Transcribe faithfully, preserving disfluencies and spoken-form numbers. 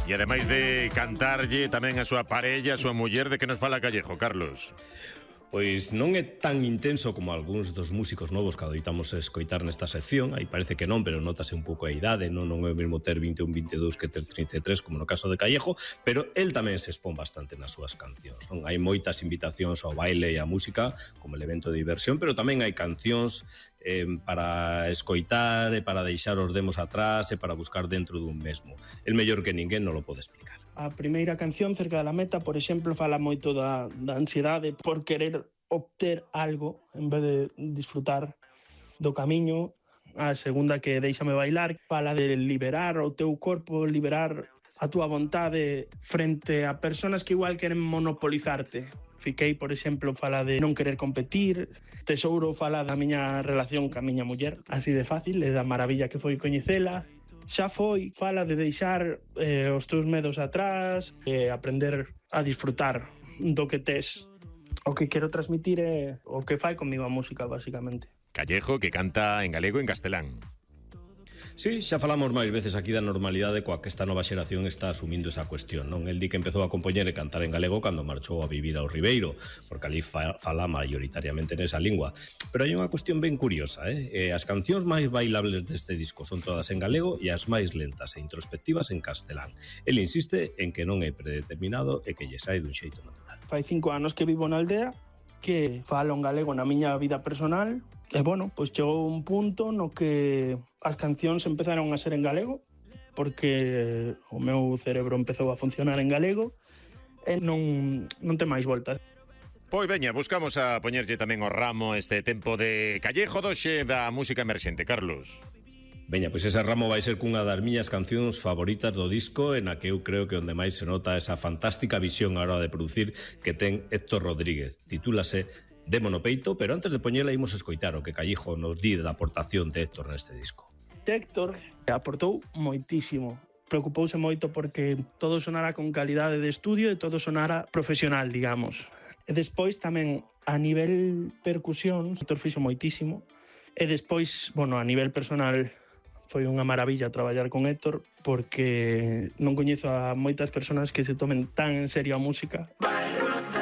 E ademais de cantarlle tamén a súa parella, a súa muller, de que nos fala Callejo, Carlos? Pois non é tan intenso como algúns dos músicos novos que adoitamos escoitar nesta sección. Aí parece que non, pero notase un pouco a idade, non, non é o mesmo ter vinte e un, vinte e dous que ter trinta e tres, como no caso de Callejo, pero el tamén se expón bastante nas súas cancións, non? Hai moitas invitacións ao baile e á música como elemento de diversión, pero tamén hai cancións eh, para escoitar e para deixar os demos atrás e para buscar dentro dun mesmo. El mellor que ninguén non lo pode explicar. A primeira canción, Cerca da Meta, por exemplo, fala moito da, da ansiedade por querer obter algo en vez de disfrutar do camiño. A segunda, que Déixame Bailar, fala de liberar o teu corpo, liberar a túa vontade frente a personas que igual queren monopolizarte. Fiquei, por exemplo, fala de non querer competir. Tesouro fala da miña relación ca miña muller, así de fácil, e da maravilla que foi coñecela. Xa foi, fala de deixar eh, os teus medos atrás e aprender a disfrutar do que tes. O que quero transmitir é o que fai comigo a música, basicamente. Callejo, que canta en galego e en castelán. Sí, xa falamos máis veces aquí da normalidade coa que esta nova xeración está asumindo esa cuestión, non? El di que empezou a compoñer e cantar en galego cando marchou a vivir ao Ribeiro, porque ali fa, fala maioritariamente nesa lingua. Pero hai unha cuestión ben curiosa, eh? eh? As cancións máis bailables deste disco son todas en galego e as máis lentas e introspectivas en castelán. El insiste en que non é predeterminado e que lle sai dun xeito natural. Fai cinco anos que vivo na aldea, que falo en galego na miña vida personal. E, bueno, pois chegou un punto no que as cancións empezaron a ser en galego, porque o meu cerebro empezou a funcionar en galego e non, non ten máis voltas. Pois veña, buscamos a poñerlle tamén o ramo este tempo de Callejo doxe da música emerxente, Carlos. Veña, pois ese ramo vai ser cunha das miñas cancións favoritas do disco, en a que eu creo que onde máis se nota esa fantástica visión a hora de producir que ten Héctor Rodríguez. Titúlase Demo no peito, pero antes de poñela imos escoitar o que Callejo nos di da aportación de Héctor neste disco. Héctor aportou moitísimo. Preocupouse moito porque todo sonara con calidade de estudio e todo sonara profesional, digamos. E despois tamén a nivel percusión, Héctor fixo moitísimo. E despois, bueno, a nivel personal foi unha maravilla traballar con Héctor porque non coñezo a moitas persoas que se tomen tan en serio a música.